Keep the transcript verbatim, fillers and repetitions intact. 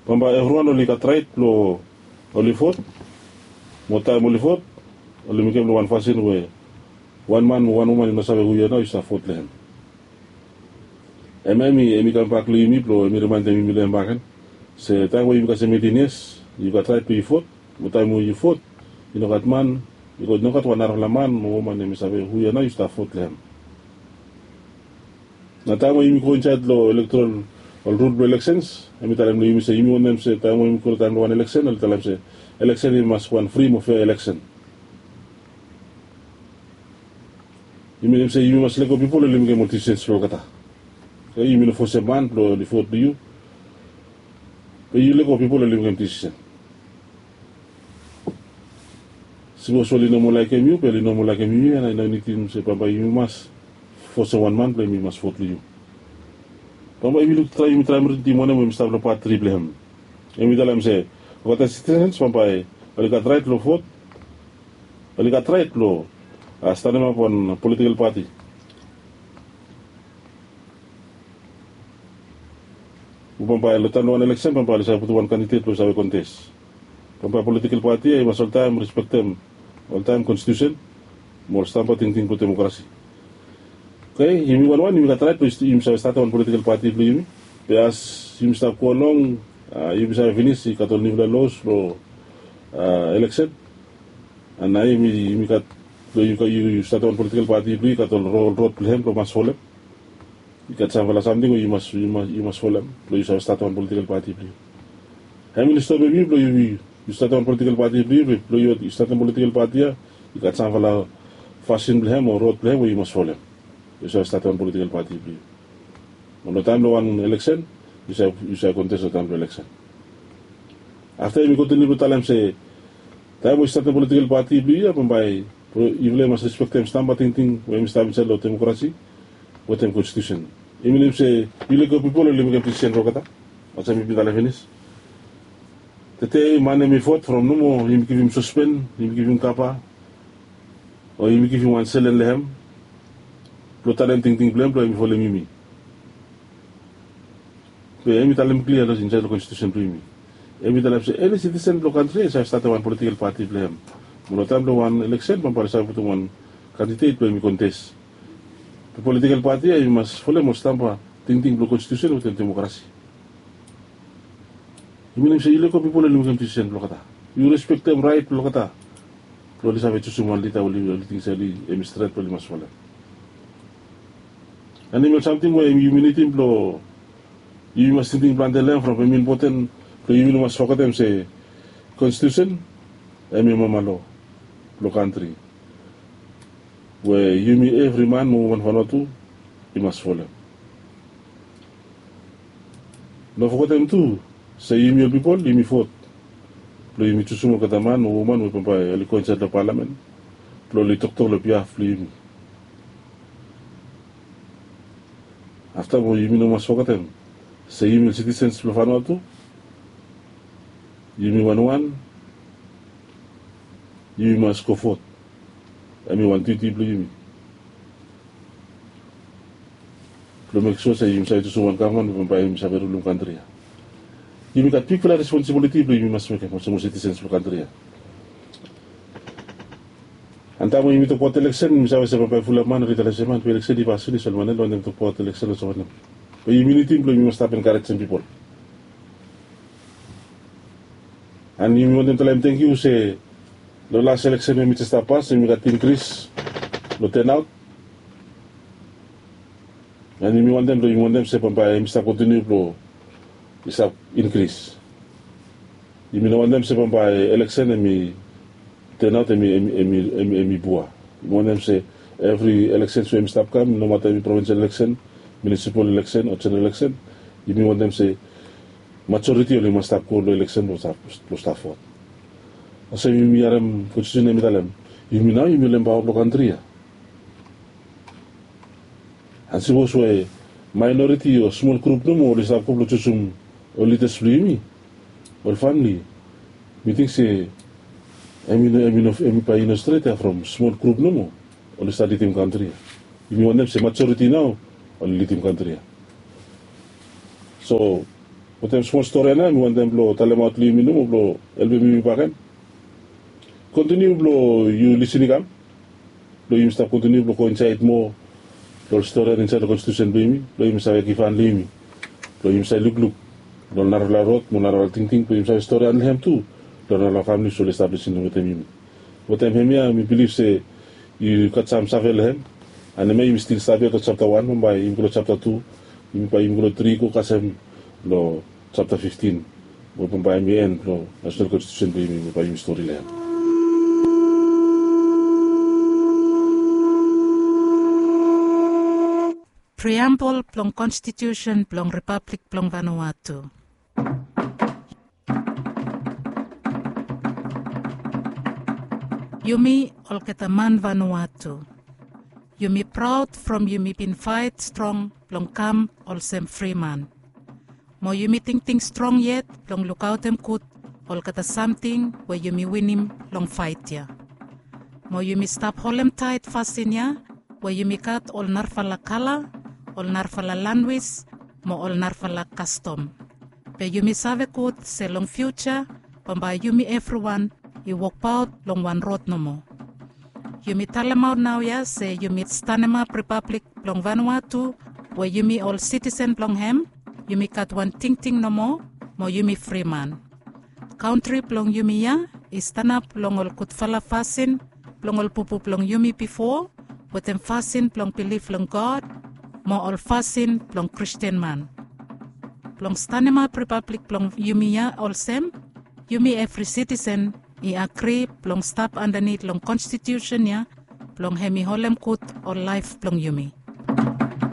Bambae evriwan oli gat rait blong oli vot. Mo taem oli vot, oli mekem long wan fasin we wan man mo wan woman i no save hu ya nao i stap vot long hem. Em em i em i kambak long yumi blong em i rimaendem yumi long em bakegen se taem we yumi kasem eitin yias, yu gat rait blong yu vot. Mo taem we yu vot, i no gat man, i no gat wan narafala man mo woman em i save hu ya nao yu stap vot long hem. Na taem we yumi go insaed long elektorol, ol rul blong eleksens, em i talem long yumi se yumi wantem se taem we yumi go long taem long wan eleksen, oli talem se eleksen i mas wan fri mo fea eleksen. I minim se yumi mas lego pipol oli mekem ol disisens blong olgeta. Yumi no fosem man blong oli vot long yu. Be yu lego pipol oli mekem disisen. Sipos oli no moa laekem yu be oli no moa laekem yumi ya, na i no nidim se bambae yumi mas fosem wan man blong yumi mas vot long yu. Bambae yumi luk traem, yumi traem ridim wanem we yumi stap long pat tri blong hem. Em i talem se olgeta sitisens bambae oli gat raet long vot. Oli gat raet blong statemap wan politikel pati. Bambae long taem long wan eleksen bambae oli save putum wan kandidet blong i save kontes. Bambae politikel pati ya i mas oltaem respektem oltaem konstitusen mo ol stamba tingting blong demokrasi. Oke, yumi wanwan yumi gat raet blong yumi save statem wan politikel pati blong yumi. Be as yumi stap go long, yumi save finis i gat ol niufala los blong eleksen. Nao yumi gat blong yu statem wan politikel pati blong yu i gat ol rod blong hem blong mas folem. I gat samfala samting we yu mas folem blong yu save statem wan politikel pati blong yu. Hem i no stopem yu blong yu statem wan politikel pati blong yu be blong yu statem politikel pati ya, i gat samfala fasin blong hem o rod blong hem we yu mas folem blong yu save statem wan politikel pati blong yu. Mo long taem long wan eleksen yu save kontes long taem long eleksen. Afta yumi kontiniu blong talem se taem we yu statem politikel pati blong yu ya bambae yufala i mas respektem stamba tingting we yumi stap insaed long demokrasi wetem konstitusen. I minim se yu lego pipol oli mekem disisen blong olgeta. Olsem yumi bin talem finis. Tede man hem i vot from nomo yumi givim sospen, yumi givim kapa, o yumi givim wan selen long hem blong talem tingting blong hem blong hem i folem yumi. Be hem i talem klia long insaed long konstitusen blong yumi. Hem i talem se eni sitisen blong kantri ya i save statem wan politikel pati blong hem. Mo long taem blong wan eleksen bambae oli save putum wan kandidet blong hem i kontes. Be politikel pati ya i mas folem ol stamba tingting blong konstitusen wetem demokrasi. I minim se yu lego pipol oli mekem disisen blong olgeta. Yu respektem raet blong olgeta blong oli save jusum wan lida we oli ting se hem i stret blong oli mas folem. Em i ol samting we yumi nidim blong yumi mas tingting plante long hem from hem i impoten blong yumi no mas fogetem se konstitusen hem i mama loa blong kantri we yumi evri man mo woman Vanuatu i mas folem. No fogetem tu se yumi ol pipol yumi vot blong yumi jusum olgeta man o woman we bambae oli go insaed long palamen blong oli toktok long biaf blong yumi. Afta mo yumi no mas fogetem se yumi ol sitisens blong Vanuatu yumi wanwan yumi mas go vot. Hem i wan diuti blong yumi blong mek sua se yumi save jusum wan gavman we bambae yumi save rulum kantri ya. Yumi gat bigfala responsibiliti blong yumi mas mekem olsem ol sitisens blong kantri ya. Antaem we yumi tokbaot eleksen yumi save se bambae fulap man oli talem se man be eleksen i pas finis ol man ya no wantem tokbaot eleksen olsem wanem. Be yumi nidim blong yumi mas stap enkarejem pipol. An yumi wantem talem tangkiu se long las eleksen we mi jes stap pas yumi gat inkris long tenaot. An yumi wantem blong yumi wantem se bambae hem i stap kontiniu blong i stap inkris. Yumi no wantem se bambae eleksen hem i tenaot hem i bua. Yumi wantem se evri eleksens we hem i stap kam nomata hem i provinsel eleksen, munisipal eleksen o jeneral eleksen, yumi wantem se majoriti oli mas stap go long eleksen blong stap vot. Olsem yumi harem konstitusen hem i talem yumi nao yumi ol empaoa blong kantri ya. An sipos we maenoriti o smol grup nomo oli stap go blong jusum ol lidas blong yumi, ol famili, mi ting se hem i no hem i no hem i bae i no stret ya from smol grup nomo oli stap lidim kantri ya. Yumi wantem se majoriti nao oli lidim kantri ya. So Wantaim smol stori ya nao mi wantaim blong talemaot long yumi nomo blong helpim yumi bakegen. Kontiniu blong yu lisin i kam blong yumi stap kontiniu blong go insaed moa long ol stori ya insaed long konstitusen blong yumi blong yumi save givhan long yumi blong yumi save lukluk long narafala rod mo narafala tingting blong yumi save stori ya long hem tu long narafala famili oli stap lisin wetem yumi. Wetem hem ya mi bilif se yu gat sam save long hem. Anemia yumi stil stap ya long japta wan bambae yumi go long japta tu, yumi bae yumi go long tri go kasem long japta fiftin we bambae yumi en long nasenal konstitusen blong yumi we bae yumi stori long hem. Priambol blong konstitusen blong ripablik blong vanua tu. Yumi olgeta man vanua tu, yumi praod from yumi bin faet strong blong kam olsem friman. Mo yumi tingting strong yet blong lukaotem gud olgeta samting we yumi winim long faet ya. Mo yumi stap holemtaet fasin ya we yumi gat ol narafala kala, ol narafala lanwis mo ol narafala kastom. Be yumi save gud se long fiuja bambae yumi evriwan i wokbaot long wan rod nomo. Yumi talemaot naoia se yumi stanemap ripablik blong vanua tu we yumi ol sitisen blong hem, yumi gat wan tingting nomo mo yumi friman. Kantri blong yumi ya i stanap long ol gudfala fasin blong ol bubu blong yumi bifo, wetem fasin blong bilif long God mo ol fasin blong Kristin man. Blong stanemap ripablik blong yumi ya olsem, yumi evri sitisen i agri blong stap andanit long konstitusen ya blong hem i holem gud ol laef blong yumi.